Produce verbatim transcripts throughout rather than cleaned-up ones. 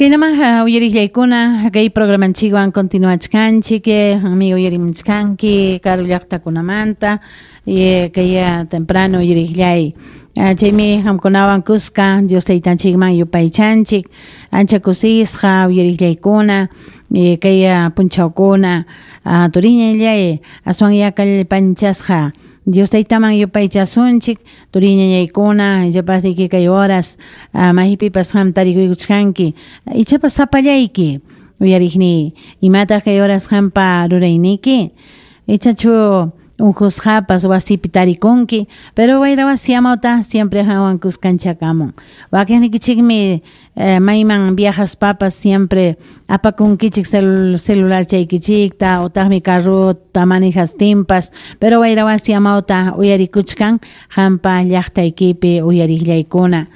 Kaynaman uyariqllaykuna kay programanchikwan continuachkanchik, amigo uyarimuchkanki karu llaqtakunamanta kay temprano uyariqllay. Chaymi qamkunawan kuska Dios taytanchikman yupaychanchik, ancha kusisqa uyariqllaykuna kay punchawkuna turiñallay aswan yakallpanchasqa Dios taytaman yupaychasunchik turiñañaykuna ichapas riki kay horas maypipas qam tarikuykuchkanki ichapas sapallayki uyariqni imataq kay horas qampa rurayniki ichachu unqusqapas wasipi tarikunki pero wayra wasi amawta siempre qanwan kuskanchakamun wakiqnikichikmi eh, mayman viajaspapas siempre apakunkichik cel celular chaykichikta utaqmi carruta manejastinpas pero wayra wasi amawta uyarikuchkan qampa llaqtaykipi uyariqllaykuna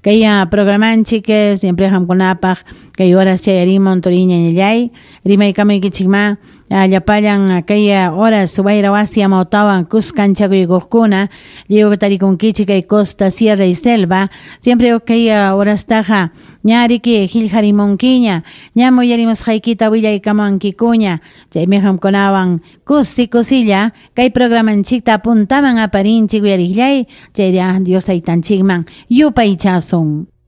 kay programanchik siempre qamkunapaq kay horas chayarimun turiñañallay rimaykamuykichikma llapallan kay horas wayra wasi amawtawan kuskanchakuykuqkuna lliw tarikunkichik kay costa, sierra y selva siempre kay horastaqa ña riki qillqarimunkiña ñam uyarimusqaykita willaykamunkikuña chaymi qamkunawan kusi kusilla kay programanchikta puntaman aparinchik uyariqllay chayra Dios taytanchikman yupaychasun.